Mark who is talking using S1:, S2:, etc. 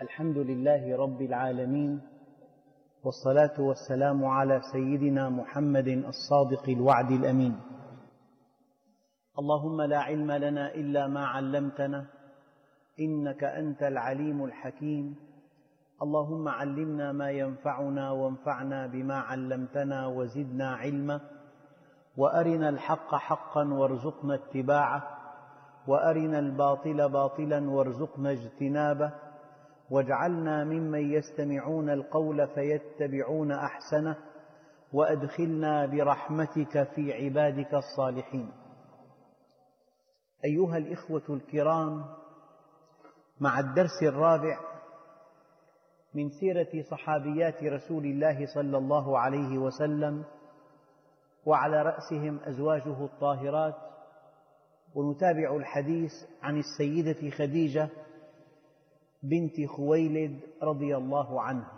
S1: الحمد لله رب العالمين، والصلاة والسلام على سيدنا محمد الصادق الوعد الأمين. اللهم لا علم لنا إلا ما علمتنا إنك أنت العليم الحكيم. اللهم علمنا ما ينفعنا وانفعنا بما علمتنا وزدنا علما، وأرنا الحق حقا وارزقنا اتباعه، وأرنا الباطل باطلا وارزقنا اجتنابه، واجعلنا ممن يستمعون القول فيتبعون أحسنه، وأدخلنا برحمتك في عبادك الصالحين. أيها الإخوة الكرام، مع الدرس الرابع من سيرة صحابيات رسول الله صلى الله عليه وسلم، وعلى رأسهم أزواجه الطاهرات، ونتابع الحديث عن السيدة خديجة بنت خويلد رضي الله عنها.